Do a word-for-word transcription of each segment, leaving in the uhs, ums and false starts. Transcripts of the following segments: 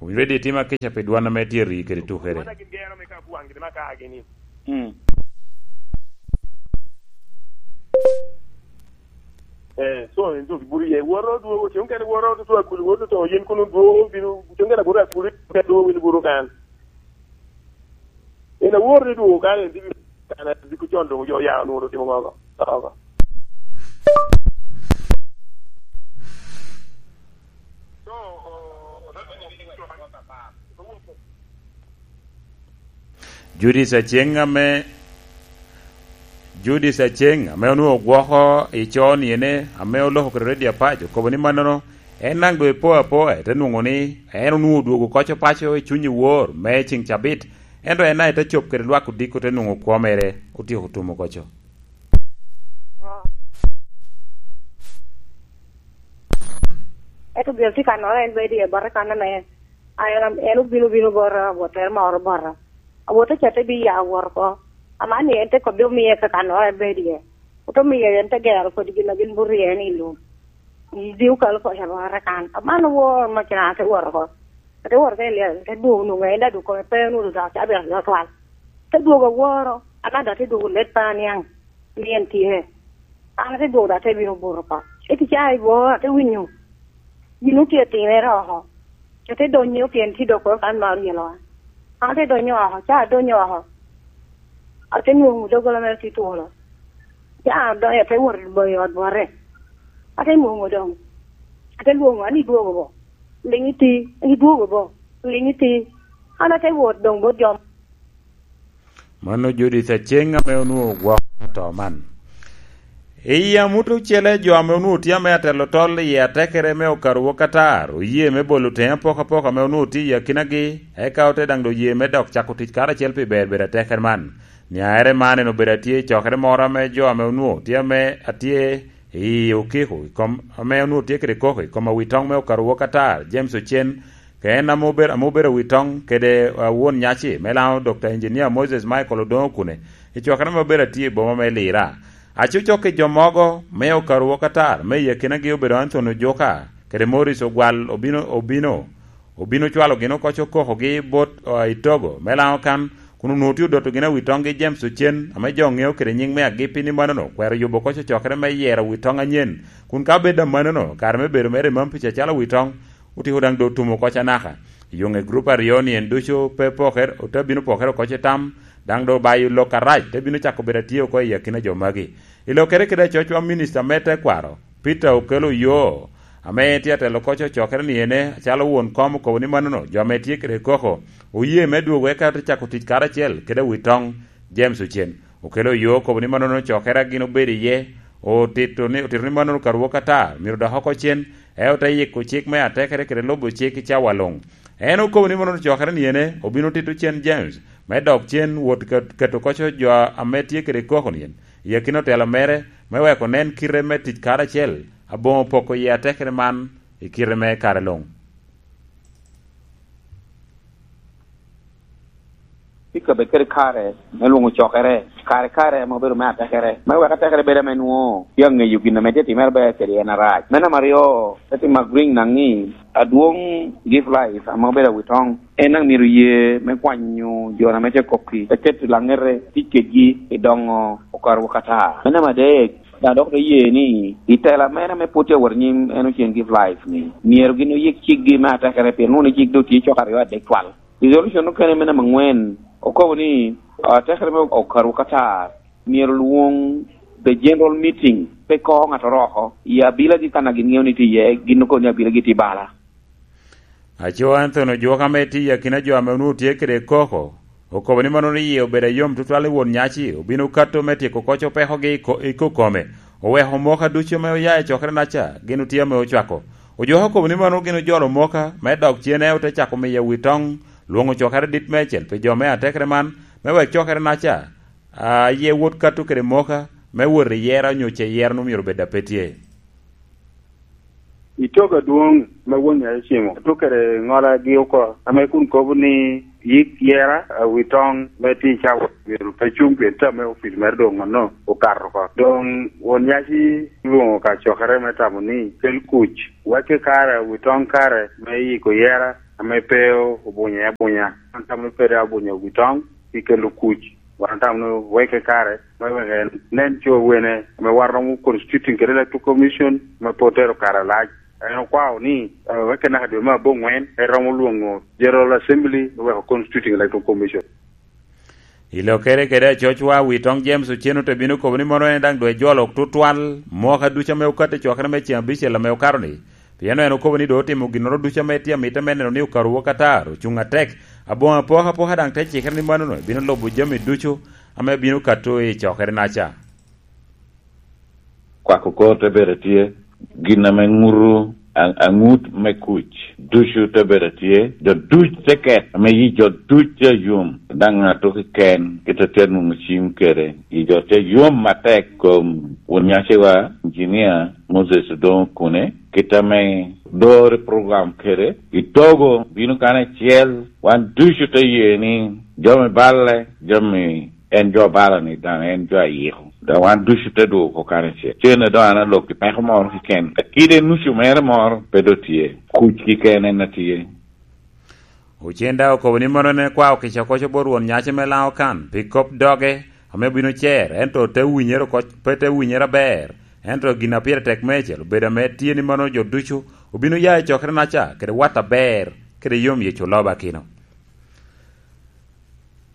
Owinyo bed itimo akica pi dwan ame tye ri kede tukere. Wan agin gero me ka buwaŋ gin ma ka agini. Mm. Eh, so en duk buru ye. Woro dwogo, tiŋ kene woro dwogo akuli, woro to yin kunu dwogo, bino, tiŋ kene buru akuli, kene dwogo win buru kan. En awor ni dwogo kan en dwogo kan, diko con dwogo jo ya onwoŋo otimo ŋo oko. Oko. Judith Aceng ame, Judith Aceng ame onwoŋo gwoko i con yene ame oloko kede redio apac okobo ni mannono en daŋ doŋ epo apoa, ete nwoŋo ni en onwoŋo odwogo koco paco i cuny i wor me ceŋ cabit, ento en daŋ ete cop kede lwak odiko te nwoŋo kwo mere otyeko tumo koco. Ento gin tye ka noro en bedo iye bote kan ame a en, en obino, obino bota, awottere moro bota. Awotte ca te bi ya wot oko. Aman ni en te kobbi omiye ka kan oro en bedo iye. Ote miyo en te gero kodi gin a gin burye ni i lum. Dii okalo pwod abora kan. Aman owor ma kina te wot oko. Ate wot oko i lyel, te dwogo nwoŋo en daŋ dwogo kome pe onwoŋo dok cabit aryo twal. Te dwogo aworo, aman dok te dwogo let pa niaŋ, ni en tye. An ate dwogo dok ate bino buto oko. Eti ca i bor ate winyo. Gin otye timere oko. Ate donyo pien tye dok kan ma oryelo an. An ate donyo oko, ca adonyo oko. Ate nwoŋo doggola mere tye twolo. Ca adonyo ate wot i ot bote. Ate nwoŋo doŋ. Ate lwoŋo, an idwogo bo. Liŋ iti, idwogo bo. Liŋ iti. An ate wot doŋ bot jo. Mano Judith Aceng ame onwoŋo gwoko to man. I amut ocele, jo ame onwoŋo tye ame atelo tol i atekere me okarowa Katar oye me bolo teŋe apokapoka ame onwoŋo tye i akinagi, eka ote daŋ doŋ ye me dok cako tic karacel pi ber bedo atekere man. Niaere man en obedo atye i cokere moro ame jo ame onwoŋo tye ame atye i okiko i kom, ame onwoŋo tye kede koko i kom awitoŋ me okarowa Katar, James Ocen, ka en ame obedo, ame obedo awitoŋ kede, ah, won nyaci me Laŋo, Doctor Engineer Moses Michael Odongo Okune, i cokere ame obedo atye i boma me Lira. Acucok i jo mogo me okarowa Katar, me i akinagi obedo Anthony Ojuka kede Morris Ogwal obino, obino, obino cwalo gin oko cokokogi bot, ah, i Togo me Laŋo kan, kun onwoŋo tye odoto gin awitoŋgi James Ocen, ame jo ŋeo kede nyiŋ me Agipi ni manono okwero yubo oko cokere me yero awitoŋ anyen, kun ka bed amanono, kare me bedo mere i Mampic acalo awitoŋ otyeko daŋ doŋ tumo oko anaka. Yoŋe gurup aryo-ni en ducu pe pokere, ote bino pokere oko i tam, daŋ doŋ obayo lok arac, te bino cako bedo atye oko i akina jo magi. I lokere kede acocwa, minista me tekwaro, Peter Okello Oyoo, ame tye atelo oko cokere ni ene acalo won kom, okobo ni manono jo ame tye kede koko oye me dwogo eka ote cako tic karacel kede awitoŋ James Ocen. Okello Oyoo okobo ni manono cokere a gin obedo iye otito ni, otito ni manono okarowa Katar myero dok oko cen, ento te yiko cik me atekere kede lubo cik i cawa luŋ. En okobo ni manono cokere ni ene obino tito cen James me dok cen wot ket-, keto koco jo ame tye kede koko-ni i akina otelo mere, me wek onen kite me tic karacel aboŋo poko i atekere man i kite me kare luŋ. Tika bed kede kare me lwoŋo cokere, kare kare ame obedo me atekere, me wek atekere bedo ame nwoŋo tye aŋeyo gin ame tye timere ber kede en arac. Me namba aryo, te tim a Green naŋ ni, adwoŋ Give Life ame obedo awitoŋ, en daŋ myero ye me kwanyo jo ame tye kok-ki, te keto laŋete tic kedgi i doŋo okarowa Katar. Me namba adek, daŋ dok te ye ni i tela mere ame pwod tye awot anyim, en Ocen Give Life ni, myero gin oyik cikgi me atekere, pien nwoŋo ni cik doŋ tye cok aryo adek twal. Resolution okene me namba aŋwen okobo ni, ah, atekere me okarowa Katar myero lwoŋ the general meeting, pe ko ŋattoro oko, i abilagi kan a gin ŋeo ni tye iye, gin okobo ni abilagi tye bala. Aco Anthony Ojuka ame tye i akina jo ame onwoŋo tye kede koko, okobo ni mano ni yie obedo ayom tutwal i won nyaci, obino kato me tyeko koc opekogi i ko-, i kokome, oweko omoka ducu ame oya i cokere-naca gin otye ame ocwako. Ojuka okobo ni mano gin ojolo omoka me dok cene, ote cako miyo awitoŋ lwoŋo cokere dit meicel pi jo me atekere man, me wek cokere-naca, a, aye wot kato kede moka me wot i yera onyo ce yera onwoŋo myero obed a pe tye. I togo adwoŋ me won nyaci cimo, tuk kede ŋolagi oko, ame kun kobo ni yik yera, a, wi toŋ me tic a wot myero pe cuŋ, pien tam me opic mere doŋ onno okato oko. Doŋ won nyaci lwoŋo ka cokere me tamo ni kel kuc, wacce kare, wi toŋ kare me yiko yera, ame pe obunye abunya. Wan tamo ni pe dok obunye wi toŋ pi kelo kuc. Wan tamo ni weke kare me weke nen co wene ame wan romo constituting kede Electoral Commission ame pe otero kare alac. En okwao ni, eh, weke naka dwe me aboŋwen, en romo lwoŋo General Assembly me weko Constituting Electoral Commission. I lokere kede acocwa, wi toŋ James Ochen ote bino kobo ni mono en daŋ doŋ ejolo tutwal mwaka ducu ame okato i cokere me ceŋ abicel ame okato-ni. Pien en okobo ni doŋ otimo ginnoro ducu ame tye amite me neno ni okarowa Qatar ocuŋ atek. Aboŋo apokapoka daŋ te cikere ni manono bino lubo jami ducu ame bino kato i cokere-naca. Kwako kor te bedo tye, gin ame ŋuto a-, aŋut me kuc ducu te bedo tye, jo duc te ket, ame yi jo duc tye ayom, daŋ ŋat keken kit a tye nwoŋo cim kede, yi jo tye ayom atek. Kom won nyaciwa, Engineer Moses Odongo Okune, kit ame dore program kede, i Togo bino kano acel, wan ducu te ye ni jami balle, jami en jo balo ni daŋ en jo ayiko. Daŋ wan ducu te dwogo oko kare acel. Cen a doŋ an alok i peko moro keken. Kide nucu mere moro pe doŋ tye. Kuc keken en a tye. Ocen daŋ okobo ni mono en kwao kica koco bot won nyaci me Laŋo kan pi kop doge ame obino cer, ento te winyere oko, pe te winyere aber. Ento gin a pire tek meicel obedo ame tye ni mono jo ducu obino ya i cokere-naca kede wat aber kede yom Yecu loba kino.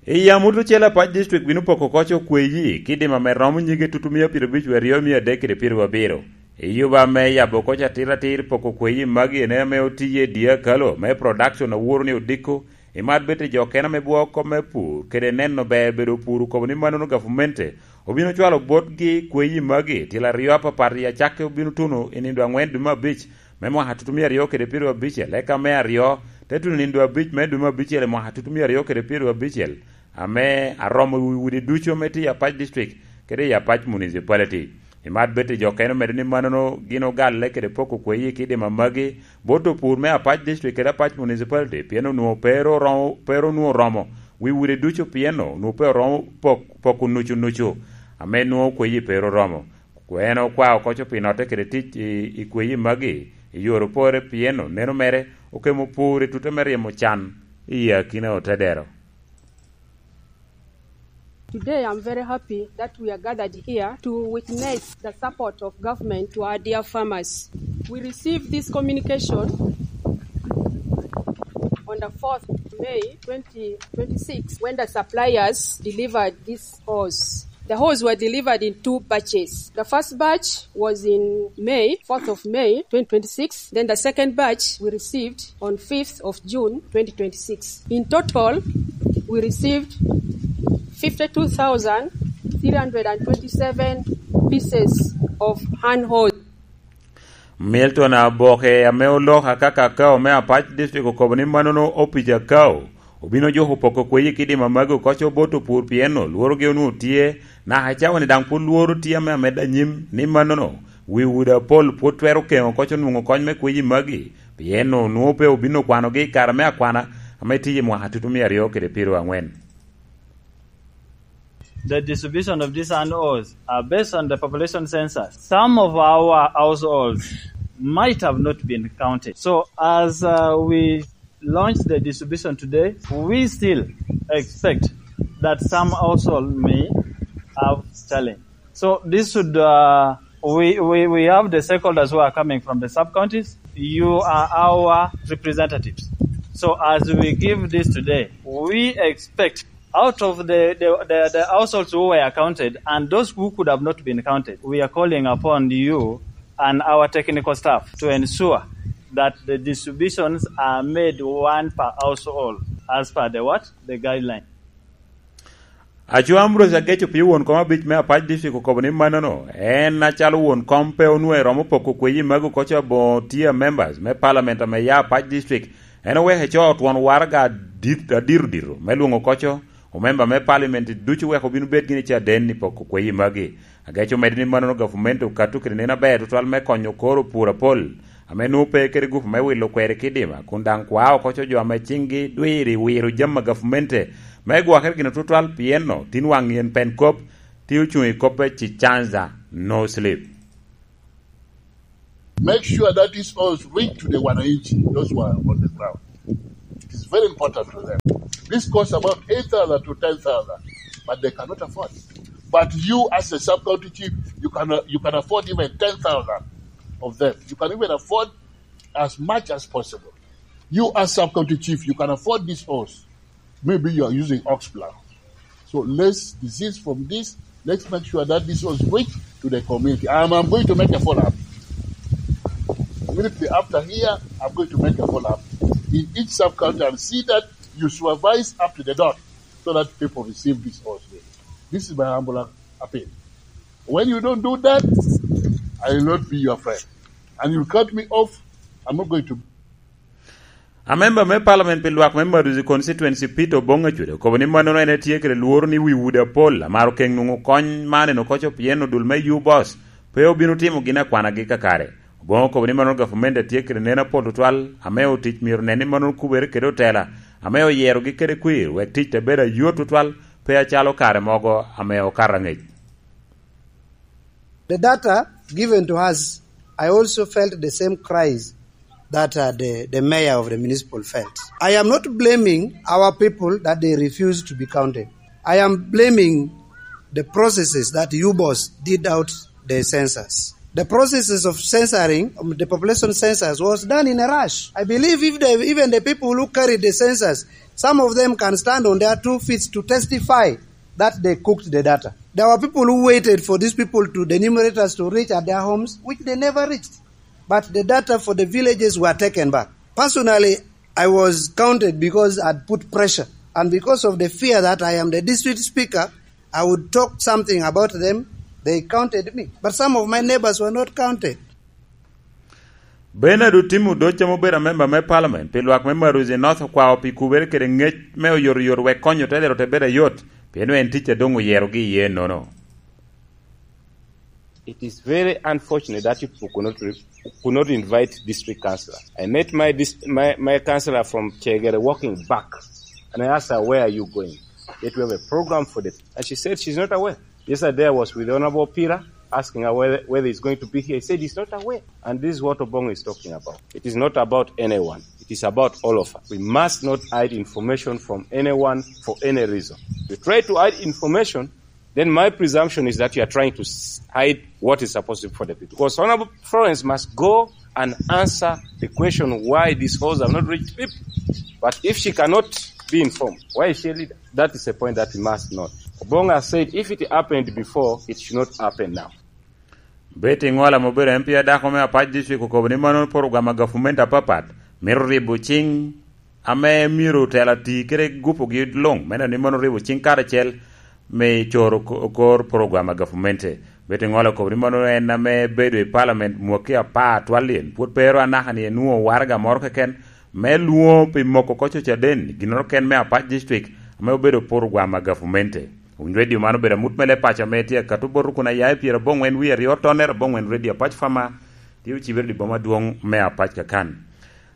I yam ot ocele Apac District bino poko koc okweyi kidima ame romo nyige tutumia pyerabic wie aryo mia adek kede pyeraryo abiro. I yuba ame yabo koc atir atir poko okweyi magi en ame otiye i dye akalo me production aworo ni odiko, imat bete jo kena me bwoko kop me pur kede neno ber bedo pur okobo ni manono gavmente obino cwalo botgi kweyi magi tilo aryo apapat i acakki obino tuno i nindo angwen dwe me abic me mwaka tutumia aryo kede pyeraryo abicel, eka me aryo te tuno nindo abic me dwe me abicel i mwaka tutumia aryo kede pyeraryo abicel, ame aromo wi udi ducu ame tye i Apac District kede i Apac Municipality. Imat bete jo kene omedde ni manono gin ogalle kede poko kweyi kidima magi bot opur me Apac District kede Apac Municipality, pien onwoŋo pe ru oromo, pe ru onwoŋo oromo wi udi ducu, pien onwoŋo pe oromo pok-, poko nucu nucu ame nwoŋo kweyi pe ru oromo. Kwene okwao koco pi notte kede tic i, i kweyi magi i yore opore, pien oneno mere okemo pur i tute me ryemo can i akina otedero. Today, I'm very happy that we are gathered here to witness the support of government to our dear farmers. We received this communication on the fourth of May twenty twenty-six, when the suppliers delivered this hose. The hose were delivered in two batches. The first batch was in May, fourth of May twenty twenty-six. Then the second batch we received on fifth of June twenty twenty-six. In total, we received fifty-two thousand three hundred and twenty-seven pieces of hand hose. Milton Aboke, ame oloko akaka akao me Apac District, okobo ni manono opic akao obino juko poko kweyi kidima magi okoco bot opur, pien olworogi onwoŋo tye, naka cawa-ni daŋ pwod lworo tye ame amedde anyim, ni manono wi udi apol pwod twero keŋo okoco nwoŋo kony me kweyi magi, pien onwoŋo pe obino kwanogi i kare me akwana ame tye i mwaka tutumia aryo kede pyeraryo angwen. The distribution of these hand hose are based on the population census. Some of our households might have not been counted. So as, uh, we launch the distribution today, we still expect that some household may have challenge. So this should, uh, we, we, we have the stakeholders who are coming from the sub-counties. You are our representatives. So as we give this today, we expect out of the, the, the, the households who were counted and those who could have not been counted, we are calling upon you and our technical staff to ensure that the distributions are made one per household as per the what? The guideline. Aco Ambrose Ageco, pii won kom abic me Apac District, okobo ni manono en acalo won kom pe onwoŋo eromo poko kweyi magi okoco aboŋo tier members me parliament ame ya Apac District. En oweko eco twon waraga adit-, adiro dito me lwoŋo okoco omemba me parliament ducu wek obin obed gin i caden i poko kweyi magi. Ageco omedde ni manono gavumenti okato kede neno aber tutwal me konyo koro pur apol ame nwoŋo pe kede gupu me wilo kweri kidima, kun daŋ kwao okoco jo ame ciŋgi dwiri wiro jami a gavumenti me gwokere gin tutwal, pien no tin waŋ yen pen kop tye ocuŋ i koppe ci chanza no sleep. Make sure that these oils reach to the wananchi, those who are on the ground. It is very important to them. This costs about eight thousand to ten thousand, but they cannot afford. But you, as a sub-county chief, you can, you can afford even ten thousand of them. You can even afford as much as possible. You, as sub-county chief, you can afford this horse. Maybe you are using ox plow. So let's desist from this. Let's make sure that this horse reach to the community. I'm, I'm going to make a follow-up. Immediately after here, I'm going to make a follow-up in each sub-county and see that you supervise up to the dot so that people receive this horse. This is my humble appeal. When you don't do that, I will not be your friend. And you cut me off, I'm not going to. Amemba me palament pi lwak me Maduzi constituency, Peter Obong Acuda, okobo ni mannono en etye kede lworo ni wi udi apol amaro keŋ nwoŋo kony man en okoco pien odul me U-Boss pe obino timo gin akwanagi kakare. Obong okobo ni mannono gavumenti etye kede nen apol tutwal, ame otic myero nen ni mannono kubere kede otela ame oyerogi kede kwir wek tic te bedo ayot tutwal, pe acalo kare mogo ame okato angec. The data given to us, I also felt the same cries that uh, the, the mayor of the municipal felt. I am not blaming our people that they refused to be counted. I am blaming the processes that U-Boss did out the census. The processes of censoring, um, the population census, was done in a rush. I believe if the, even the people who carried the census, some of them can stand on their two feet to testify that they cooked the data. There were people who waited for these people to, the enumerators, to reach at their homes, which they never reached. But the data for the villages were taken back. Personally, I was counted because I'd put pressure. And because of the fear that I am the district speaker, I would talk something about them, they counted me. But some of my neighbors were not counted. Bernard Otim Odoc, ame obedo amemba me palament pi lwak me Maruzi North, okwao pi kubere kede ngec me oyotoyot wek konyo te lero te bedo ayot, pien en tic a doŋ oyerogi iye nono. It is very unfortunate that you people could not, re- could not invite district councillor. I met my, dis- my, my councillor from Chegere walking back, and I asked her, "Where are you going?" That we have a program for them. And she said she's not aware. Yesterday I was with Honorable Pira, asking her whether, whether he's going to be here. He said he's not aware. And this is what Obong is talking about. It is not about anyone. It is about all of us. We must not hide information from anyone for any reason. If you try to hide information, then my presumption is that you are trying to s- hide what is supposed to be for the people. Because Honorable Florence must go and answer the question why these halls have not reached people. But if she cannot be informed, why is she a leader? That is a point that we must note. Obong has said if it happened before, it should not happen now. Betty Ngwala, ame obedo M P adako me Apac District, okobo ni mano porogram a gavumenti apapat mito ribo ciŋ ame myero otela ti kede gupogi luŋ, me neno ni mano ribo ciŋ karacel me coro ko- kor porogram a gavumenti. Betty Ngwala okobo ni mano en ame bedo i palament mwaki apar twal lyen, pwod pe ero anaka ni enwoŋo waraga moro keken me lwoŋo pi moko koc ocaden ginnoro ken me Apac District ame obedo porogram a gavumenti. Winy redio man obedo amut me leb paco ame tye akato bot rukun aya i pyerabongwen wie aryo tonnere abongwen redio Apac Fama, tye ocibere i boma adwoŋ me Apac kakan.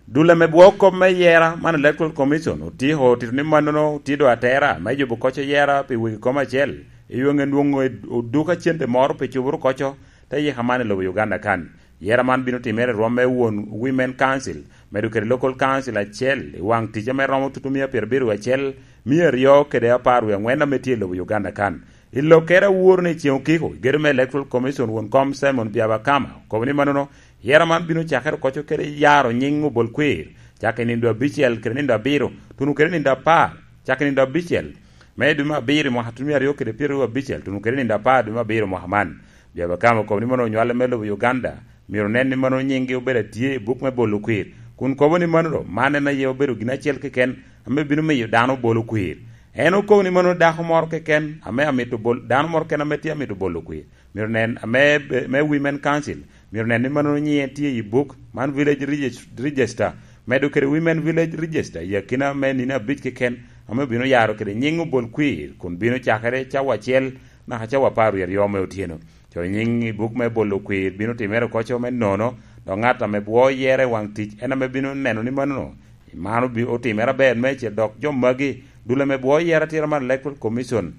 Dul ame bwoo kop me yera man Electoral Commission otiko otito ni mannono tye do atera me yubo koc yera pi wegi kom acel i yo ŋen dwoŋ oduk acente moro pi cuburu koco te yika man i lobo Uganda kan. Yera man bino timere i rwom me won Women Council, medo kede Local Council acel i waŋ tic ame romo tutu mia pyerabiro acel, mia aryo kede apar wie aŋwen ame tye i lobo Uganda kan. I lokere aworo ni ceŋ okiko, gedo me Electoral Commission won kom Simon Byabakama okobo ni mannono yera man bino cakere okoco kede yaro nyiŋ obol kwir, cako i nindo abicel kede nindo abiro, tuno kede nindo apar, cako i nindo abicel me dwe me abiro i mwaka tutumia aryo kede pyeraryo abicel, tuno kede nindo apar dwe me abiro mwaka man. Byabakama okobo ni mono onywale me lobo Uganda myero nen ni mano nyiŋgi obedo atye i buk me bolo kwir, kun kobo ni mano do man en aye obedo gin acel keken ame bino miyo dano bolo kwir. En okobo ni mano dako moro keken ame amito bol, dano moro keken ame tye amito bolo kwir, myero nen ame me Women Council, myero nen ni mano nyiŋe tye i buk man Village Regis- Register, medo kede Women Village Register i akina me nino abic keken ame obino yaro kede nyiŋ obol kwir kun bino cakere cawa acel naka cawa apar wie aryo me otyeno. Coyo nyiŋ i buk me bolo kwir bino timere okoco me nono, dok ŋat ame bwo yere i waŋ tic en ame bino neno ni mano man obi- otimere aber meicel, dok jo magi dul ame bwo yere atira man Electoral Commission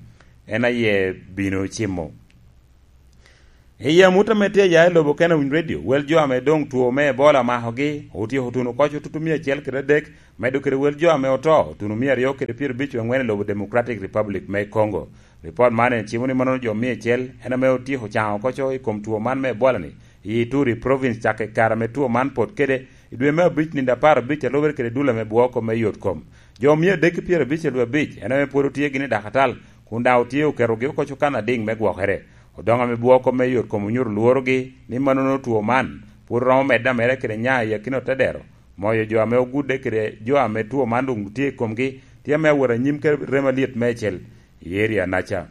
en aye bino cimo. I amut ame tye aya i lobo Kenawiny Radio, wel jo ame doŋ two me Ebola omakogi otyeko tuno oko tutu mia acel kede adek, medo kede wel jo ame oto otuno mia aryo kede pyerabicwi angwen i lobo Democratic Republic me Congo. Ripot man en cimo ni mannono jo mia acel en ame otyeko caŋo oko i kom two man me Ebola-ni i Ituri Province cakke i kare ame two man pot kede i dwe me abic nino apar abic a lubere kede dul ame bwoko me yot kom. Jo mia adek ki pyerabicel wie abic en ame pwod otye gin i dakatal, kun daŋ otye oketogi oko kan adiŋ me gwokere. Odoŋo ame bwoko me yot kom onyuto lworogi ni mannono two man pwod romo medde ameda kede nya i akina otedero. Moyo jo ame ogudde kede jo ame two man doŋ tye i komgi tye ame awot anyim kede rem alyet meicel i area naca.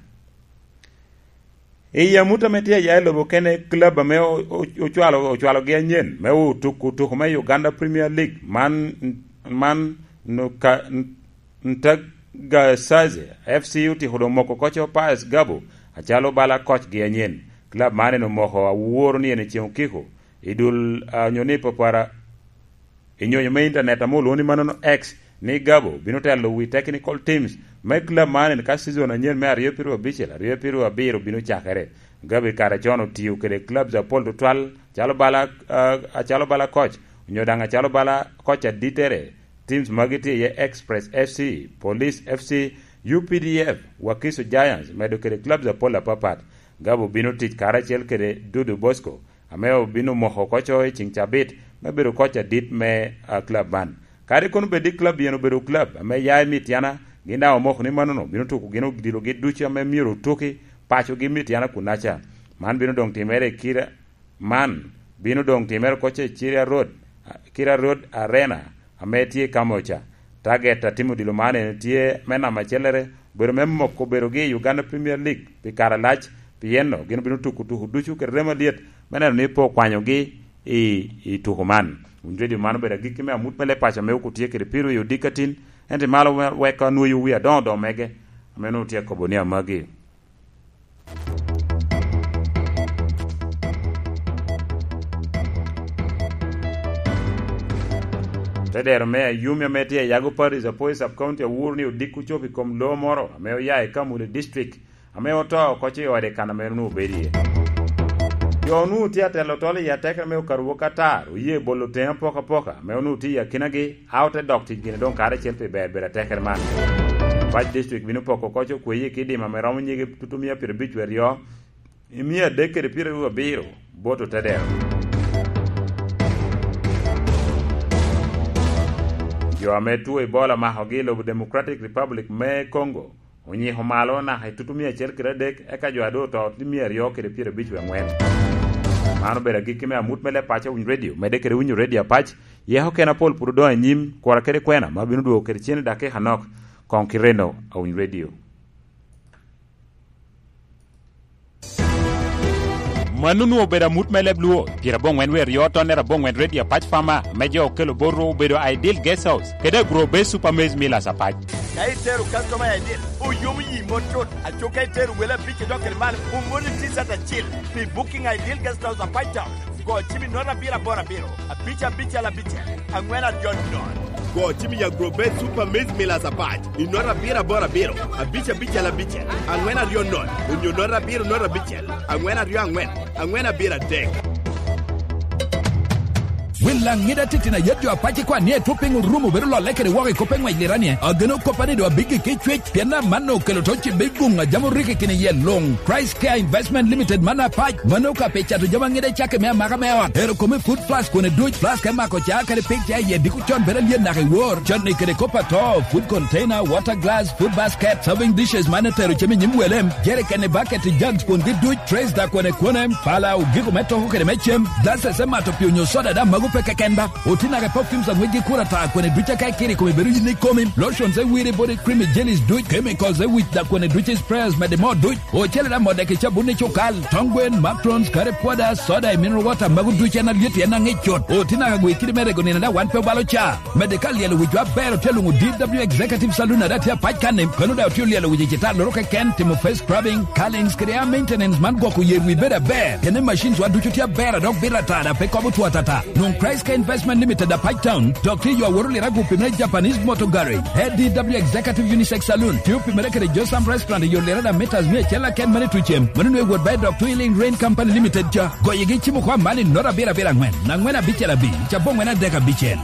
I amut ame tye aya i lobo kene, club ame o-, o-, ocwalo, ocwalogi anyen me otuko tuko me Uganda Premier League man, man Nuka-, N-, Ntagasaze F C otyeko doŋ moko koco Pius Gabo acalo bala kocgi anyen. Club man en omoko aworo ni en eceŋ okiko i dul, a, onyo ni papara i nyonyo me internet ame olwoŋo ni mannono X, ni Gabo bino telo wi technical teams me club man ka season anyen me aryo pyeraryo abicel, aryo pyeraryo abiro bino cakere. Gabo i kare con otio kede clubs apol tutwal, calo bala, ah, acalo bala coach, onyo daŋ acalo bala coach aditere. Teams magi tye iye Express F C, Police F C, U P D F, Wakiso Giants, medo kede clubs apol apapat. Gabo bino tic karacel kede Dudu Bosco, ame obino moko koco i ceŋ cabit me bedo koc adit me, ah, club man. Kadi kono bed ni club yen obedo club ame ya i Mityana, gin daŋ omoko ni mannono bino tuko gin odilogi ducu ame myero otuki pacogi Mityana kunaca. Man bino doŋ timere i kira, man bino doŋ timere koco i Kira Road, Kira Road Arena, ame tye i Kamoca. Target a timo odilo man en tye me namba acellere, obedo me moko obedogi i Uganda Premier League pi kare alac, pien gin obino tuko tuko ducu kede remo alyet me neno ni pe okwanyogi i, i tuko man. Wun redio, man obedo agikki me amut me leb paco ame ok otye kede piro i odikatin, ento i malo me weko anwoyo wi adoŋo doŋ mege, ame nwoŋo tye akobo ni amagi. Te dero me Ayumi ame tye i Yago Parish, Apoi Sub County, awuro ni odiko cop i kom loo moro ame oya i Kamuli District, ame oto oko i ode kan ame onwoŋo obedo iye. Jo onwoŋo tye atelo tol i atekere me okaru wok atar, oye bolo teŋe apokapoka, ame onwoŋo tye i akinagi, a ote dok tic gini doŋ karacel pi ber bedo atekere man. Pac District bino poko oko okweye ki dima ame romo nyige tutumia pyerabic wie aryo, i mia adek kede pyeraryo abiro bot otedero. Jo ame two Ebola makogi i lobo Democratic Republic me Congo onyiko malo naka i tutumia acel kede adek, eka jo a doŋ oto tye mia aryo kede pyerabic wie angwen. Man obedo agikki me amut me leb paco Awiny Radio. Medde kede winyo Radio Apac, yeko kena pol pwod odoŋ anyim, kura kede kwena ma bino dwogo kede cen i dakika anok. Koŋ kireno Awiny Radio. Mano onwoŋo obedo amut me leb Luo, pyerabongwen wie aryo tonnere abongwen Radio Apac Farmer, ame jo okelo bot rwo obedo Ideal Guest House, kede Agro Base Super Maize Millers Apac. Ka itero customer I D, oyomo yi mot cut. Aco ka itero wele abic idok kede malo, omoni T-shirt acil pi booking Ideal Guest House Apac Town. Go cim i note abiro aboro abiro, abic abicel abicel, angwen aryo nono. Go cim i Agrobet Super Maize Millers Apac i note abiro aboro abiro, abic abicel abicel, angwen aryo nono, onyo note abiro note abicel, angwen aryo angwen, angwen abiro adek. Wil Laŋida titino a yet jo Apac ikwan ni etwop piny orumo bedo lolle kede woko i kop me ŋwec lirani, ageno kop a ni doŋ abiggi ki cwec, pien amanno okelo to cibbe i guŋ a jami orikki kine iye luŋ. Christ Care Investment Limited man Apac, mano ka pe cato jami aŋida cakke me amaka me ot, ero kome food flask kone duc, flask me mako ca kede pik ca iye diko con bedo alyet naka i wor, cotni kede kop ato, food container, water glass, food basket, serving dishes man etero cem i nyim wele, jerikeni, bucket, jugs kungi duc, trays da kone kone, pala, ogiko me toko kede me cem, glasses me mato pii onyo soda da mago pe keken ba. Oti naka perfumes aŋwec gi kura ta kone duc aka ikiri kome bedo yin ikomi, lotions e wiri body creamy jellies duc, chemicals e wic da kone duc sprayers mede mo duc, ocele da mode ki cabun i cukal, tong gwen, matrons, curry powder, soda e mineral water mago duc en alyet en aŋic cut. Oti naka gwe kidi me rego nino da wan pe obalo ca. Mede ka lyelo wicwa aber otye luŋo D W Executive Saloon ada tye apac kanni, kano da otye lyelo wic i cita loro keken, timo face scrubbing, curlings kede hair maintenance man gwoko yer wi bedo aber. Kene machines wa ducu tye aber a dok bito ata da pe kobo two atata. Nwoŋo Price Care Investment Limited, Apac Town, dok tye i yo aworo lirago pi me Japanese Motor Garage. A D W Executive Unisex Saloon, tye opimere kede Josam Restaurant i yo lirada metas mia acel aken mane i Tucem. Mano nwe wot ba i dok Twilling Rain Company Limited ca. Goyegi cimo kwa man i nota abiro abiro angwen, angwen abicel abic, ca bongwen adek abicel.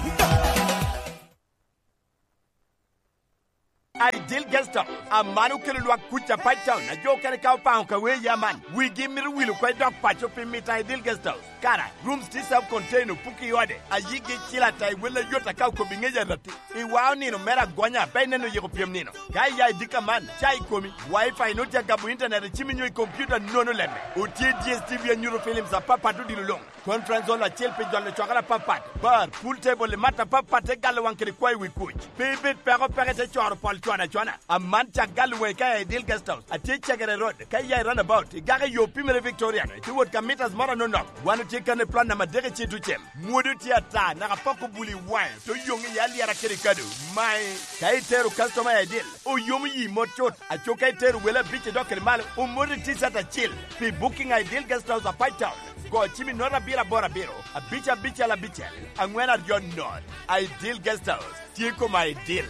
Ideal Guest House, aman okelo lwak kuc Apac Town, a jo okene ka opaŋo ka wee ya man. Wigi mito wil okwac dok paco pi mito Ideal Guest House. Kara, rooms tye self contained, opuko i ode, a yigi cil ata i wel ayot aka okobo i ŋec arati. I wao nino mere agonya, pe ineno yiko pyem nino. Ka iya i dika man, ca i komi, wifi nut ya gabo internet i cimi nyo i computer nono lemme. Otye D S T V anyuto films apapat odilo luŋ. Conference hall acel pi jolo cwakere apapat, bar, pool table i mat apapat te galo waŋ kede kwayo wi kuc. Pe ibed peko peke te coro pol cwana cwana. Aman cak galo waŋi ka i Ideal Guest House. Atye Cegere Road, ka iya i runabout, igaka i yo pimere Victorian, itye wot ka mitas moro anonok. Wan otye kan i plot namba adek i Cito Cem. Mwodo tye ata, naka pok obuli waŋe, to yoŋ i alyera kede kado. Mae, ka itero customer i Ideal, oyomo yi mot cut. Aco ka itero wele abic idok kede malo, omoti T-shirt acil. Pi booking Ideal Guest House Apac Town, go cim i nota abiro aboro abiro, abic abicel abicel, angwen aryo not. Ideal Guest House, tye koma Ideal.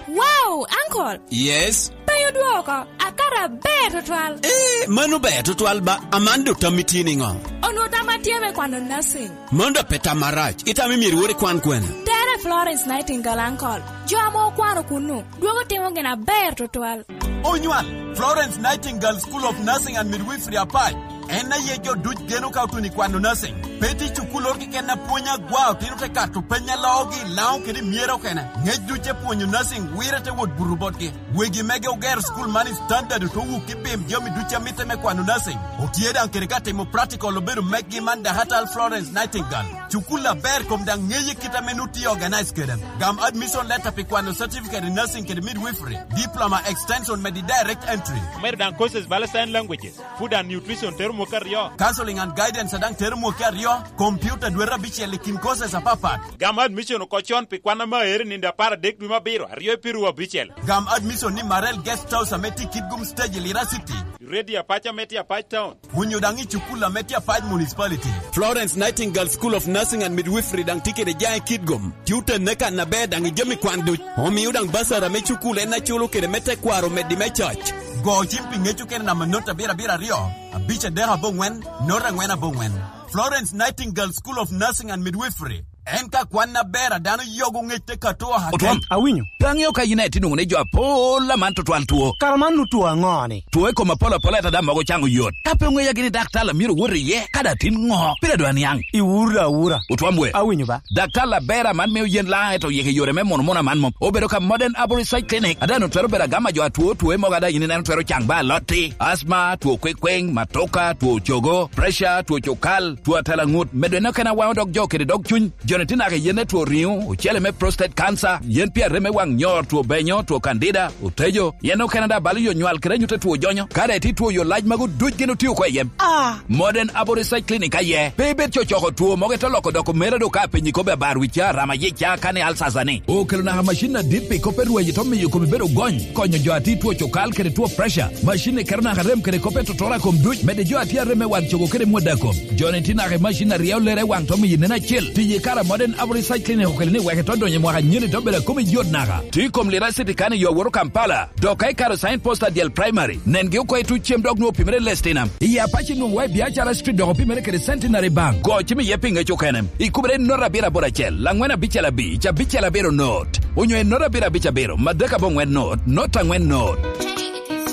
Wow, uncle! Yes? Pe odwoko, akara ber tutwal. Eh, mano ber tutwal ba, aman do tammi tye niŋo? Onwo tamma tye me kwano nursing. Mano da pe tam marac, itamo myero iwor ikwan kwene? Tere Florence Nightingale, uncle. Jo ame okwano kunnu, dwogo timo gin aber tutwal. Onywal, Florence Nightingale School of Nursing and Midwifery Apac. En aye jo duc geno ka otuno i kwano nursing. Pe tye cukul oro keken a pwony agwa, otino te kato peny a loogi, Laŋo kede myero okene. Ŋec duc e pwonyo nursing, wire te wot buto botgi. Wegi mege ogero school man i standard, oto wuk i bim jami duc a mitte me kwano nursing. Otye daŋ kede ka timo practical obedo meggi man Dakatal Florence Nightingale. Cukul aber kom daŋ ŋeye kit ame nu tye organize kede. Gam admission letter pi kwano certificate in nursing kede midwifery, diploma extension medi direct entry. Omedo daŋ courses bala sign languages, food and nutrition tero mwaka aryo. Counseling and guidance daŋ tero mwaka aryo, computer dwete abicel i kin courses apapat. Gam admission oko con pi kwan ame aero i nino apar adek dwe me abiro, aryo i piru abicel. Gam admission ni Marel Guest House ame tye i Kitgum Stage i Lira City. Radio Apac ame tye Apac Town. Onyo daŋ i cukul ame tye Apac Municipality. Florence Nightingale School of Nursing and Midwifery daŋ tye kede jaŋ i Kitgum. Tye otenne kan aber daŋ i jami kwan duc. Omio daŋ basara me cukul en aculo kede me tekwaro omeddi me coc. Go cim pi ŋec okene namba not abiro abiro aryo, abic adek aboŋwen, not angwen aboŋwen. Florence Nightingale School of Nursing and Midwifery. En ka kwan aber a dano yogo ŋec te kato ahakel. Otwom. Awinyo. Pe aŋeo ka yin aye tye nwoŋo ni jo apol aman tutwal two. Kara man nu two aŋo-ni? Two i kom apol apol ata daŋ mogo caŋo yot. Ka pe oŋeya gini daktar a myero owot iye, kadi atin ŋo, pire dwa niaŋ. Iwuro da awura. Otwom we. Awinyo ba. Daktar aber aman mio yen laŋ eto yik i yore me mono mono aman mom. Obedo ka Modern Arborist Side Clinic. Ada nu twero bedo agama jo atwo two mogo ada yin ineno twero caŋ ba alotti, asma, two kwekweŋ, matoka, two cogo, pressure, two cukal, two atela ŋut, medo en okene awaŋo dog jo kede dog cuny. Joni tye naka i yen me two riŋo, ocele me prostate cancer, yen pi arem me waŋ nyor, two benyo, two candida, otejo, yen okene daŋ balo yo nywal kede anyut a two jonyo. Ka daŋ itye two yo lac magu duc gin otio oko i yem. Ah! Modern Abo Research Clinic aye. Pe ibed cocoko two mogo ite loko doko mere do ka penyi kobbe abar wi ca, rama yic ca, kani alsasa ni. Okelo naka macin adit pi kop me rweny ito miyo komi bedo gony, konyo jo a tye two cukal kede two pressure. Macin ni keto naka rem kede kop me totora kom duc, mede jo a tye arem me wang cogo kede mwada kom. Joni tye naka i macin a ryeo lere waŋ to miyo nen acel. Tiye kara Modern Abo Research Clinic okelo ni wek ito donyo i mwaka nyeni to bedo a komi yot naka. Tye i kom Lira City kani yo aworo Kampala. Dok ka ikaro sign post adyel primary, nengi oko i tuc cem dok nwoŋo opimere Lestinam. I Apac inwoŋo wa i Biacara Street dok opimere kede Centenary Bank. Go cim iye pi ŋec okene. Ikubere i not abiro aboro acel, angwen abicel abic, abicel abiro not. Onyo i not abiro abic abiro, madek aboŋwen not, not angwen not.